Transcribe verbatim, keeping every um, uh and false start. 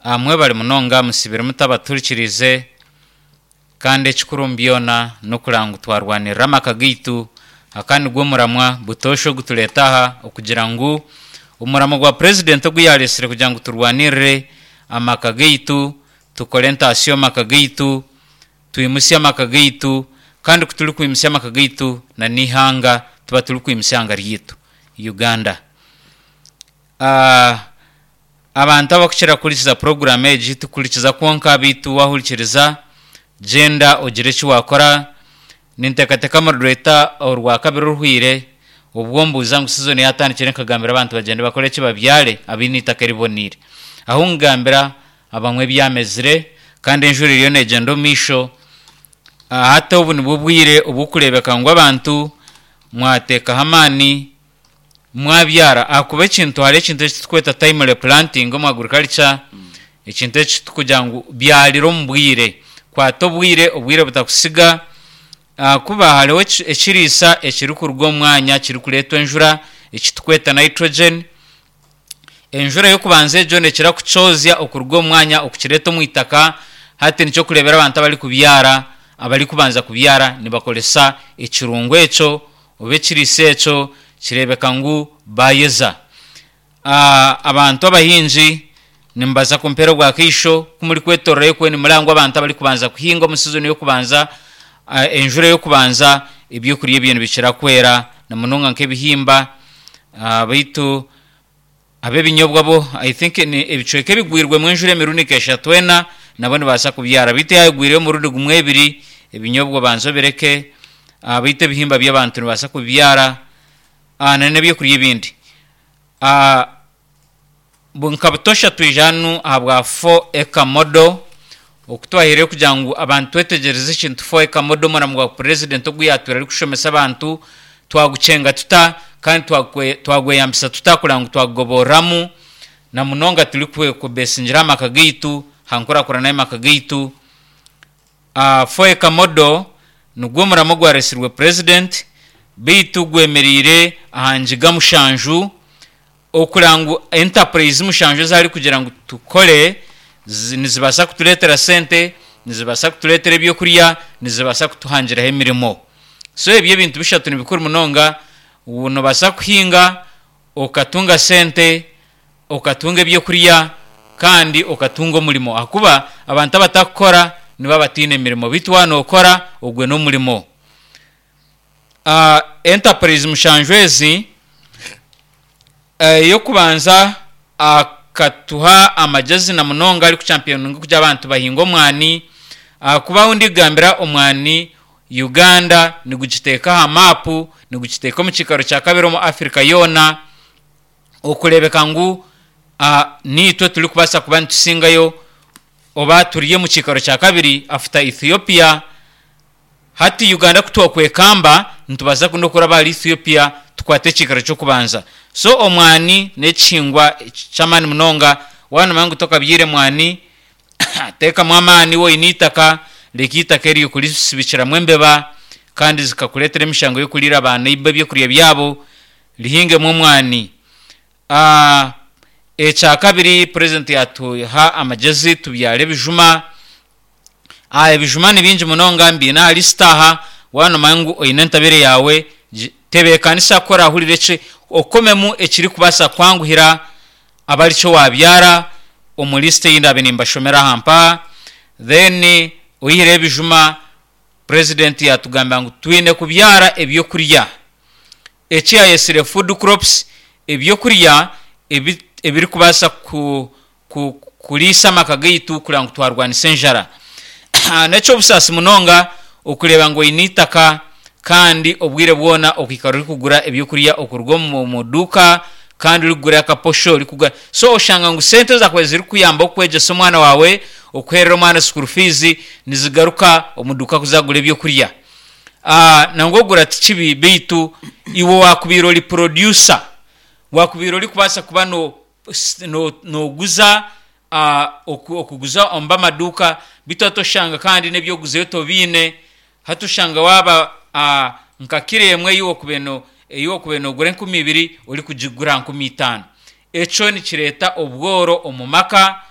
Mwebare munonga musibire mutabaturikirize kandi ekikuru omu byona n'okureba ngu twarwanirira amaka gaitu. Aka nigwo muramwa butoosha ogutureeta aha okugira ngu omuramo gwa purezidenti ogu yaareetsire kugira ngu turwanirire amaka gaitu, tukore entaasya omu maka gaitu, twimusye amaka gaitu kandi ku turikwimusya amaka gaitu n'eihanga tuba turikwimusya eihanga ryaitu Uganda. Abantu abarikukira kuhurikiza puroguraamu egi tikuhurikiza kwonka beitu waahurikiriza gyenda ogire eki waakora. Ninteekateeka murureeta orwakabiri oruhweire obwo mbuuza ngu sizoni yaatandikire nkagambira abantu bagyende bakore eki babyare abaine eitaka eriboneire. Ahu nkugambira abamwe byamezire kandi enjura eriyo neegyenda omu maisho. Hati obu nibwo bwire obw'okureebeka ngu abantu mwateekaho amaani mwabyara ahakuba ekintu hariho ekintu eki turikweta timely planting omu agriculture, ekintu eki turikugira ngu byarira omu bwire, kwata obwire, obwire butakusiga ahakuba hariho ekiriisa ekirikuruga omu mwanya kirikureetwa enjura eki turikweta nitrogen. Enjura y'okubanza egyo neekira kukyozya okuruga omu mwanya okukireeta omu itaka. Hati nikyo orikureebera abantu abarikubyara abarikubanza kubyara nibakoresa ekirungo ekyo oba ekiriisa ekyo kireebeka ngu baayeza. Abantu abahingi nimubaasa kumpeera obwakaisho ku murikwetooroora okwe nimureba ngu abantu abarikubanza kuhinga omu sizoni y'okubanza, enjura y'okubanza ebyokurya ebyo nibikira kwera na munonga nk'ebihimba beitu ab'ebinyobwa bo I think ebicweka ebigwirwemu enjura emirundi nk'eshatu ena nabo nibabaasa kubyara beitu yaaba egwireyo omurundi gumwe ebiri ebinyobwa obanze obireke beitu ebihimba byo abantu nibabaasa kubibyara n'ebyokurya ebindi. Nka butoosha twija hanu ahabwa four acre model oku twahaireyo kugira ngu abantu twetegyereze ekintu four acre model omurimo gwa purezidenti ogu yaatwire arikushomesa abantu twagukyenga tuta kandi twagweyambisa tuta kureba ngu twagugoboreramu na munonga turikubeesingira aha maka gaitu aha nkurakurana y'amaka gaitu. Four acre model nigwo murimo ogwareetsirwe purezidenti beitu gwemereire aha ngiga mushanju okureba ngu enterprise mushanju ezi arikugira ngu tukore nizibaasa kutureetera sente, nizibaasa kutureetera ebyokurya, nizibaasa kutuhangiraho emirimo. So ebyo ebintu bishatu ni bikuru munonga, noobaasa kuhinga okatunga sente, okatunga ebyokurya kandi okatunga omurimo ahakuba abantu abatarikukora nibaba bataine mirimo beitu waaba nookora ogwo n'omurimo. Enterprise mushanju ezi, ey'okubanza akatuha amagyezi na munonga arikukyampiyoninga kugira abantu bahinge omwani ahakuba ahu ndikugambira omwani Uganda nigugiteeka aha maapu, nigugiteeka omu kiikaro kya kabiri omu Africa yoona okureebeka ngu niitwe turikubaasa kuba nitusingayo oba turi omu kiikaro kya kabiri after Ethiopia. Hati Uganda ku twakwekamba nitubaasa n'okuraba ahari Ethiopia tukwate ekiikaro ky'okubanza. So omwani n'ekihingwa ky'amaani munonga, waaba noomanya ngu tokabyaire mwani, teekamu amaani waaba oine eitaka, reka eitaka eryo kurisibikiramu embeba kandi zikakureetera emishango y'okuriira baaneiba ebyokurya byabo, rihingemu omwani. Ekya kabiri purezidenti yaatuha amagyezi tubyare ebijuma. Ebijuma ni bingi munonga mbiine aha lisiti aha, waaba noomanya ngu oine entabire yaawe, tebeekanisa ku oraahurira eki okomemu ekirikubaasa kukwanguhira abe arikyo waabyara omu lisiti ei ndaabe nimbashomera aha mpaha. Then oihireho ebijuma, purezidenti yaatugambira ngu twine kubyara ebyokurya eki yaayetsire food crops, ebyokurya ebi ebirikubaasa ku ku kuriisa amaka gaitu kureba ngu twarwanisa enjara. N'eky'obusaasi munonga okureeba ngu oine eitaka kandi obwire bwona okaikara orikugura ebyokurya okuruga omu duuka kandi orikugura akaposho orikugura so oshanga ngu sente ezaakubaire zirikukuyamba okwegyesa omwana waawe, okuheerera omwana school fees nizigaruka omu duuka kuza kugura ebyokurya. Nangwa okugura ti kibi beitu iwe waakubaire ori producer, waakubaire orikubaasa kuba nooguza okuguza omu b'amaduuka beitu hati oshanga kandi n'ebyokuguzayo tobiine, hati oshanga waaba nka kiro emwe ei waakubaire noogura enkumi ibiri orikugigura nkumi itaano. Ekyo nikireeta obworo omu maka.